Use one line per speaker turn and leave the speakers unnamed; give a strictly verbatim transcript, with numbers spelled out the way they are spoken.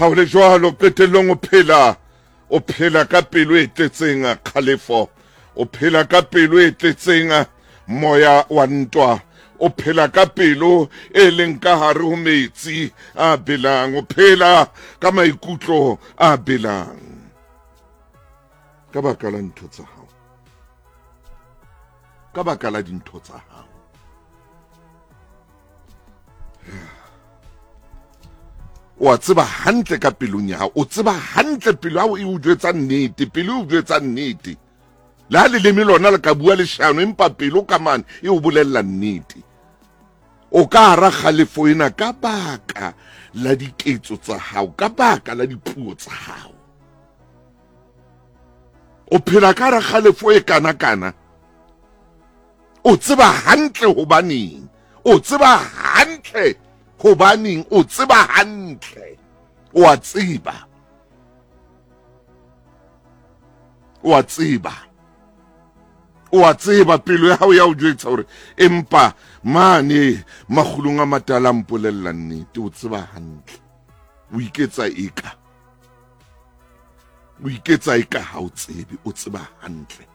Ha o le jwalo, qetellong o phela o phela ka pelo e tletseng kgalefo, o phela ka pelo e tletseng moya wa ntwa, o phela ka pelo e leng ka hare ho metsi a belang, o phela ka maikutlo a belang ka baka la ntho tsa hao, ka baka la dintho tsa hao. O a tseba hantle ka pelong ya hao, o tseba hantle pelo ya hao e o jwetsa nnete, pelo e o jwetsa nnete. Le ha leleme lona le ka bua leshano, empa pelo ka mane e o bolella nnete. O ka hara kgalefo ena ka baka la diketso tsa hao, ka baka la dipuo tsa hao. O phela ka hara kgalefo e kana-kana. O tseba hantle hobaneng, o tseba hantle hobaneng, o tseba hantle, o a tseba, o a tseba, o a tseba. Pelo ya hao ya o jwetsa hore empa mane makgulong a matala a mpolella nnete. O tseba hantle, o iketsa eka, o iketsa eka ha o tsebe, o tseba hantle.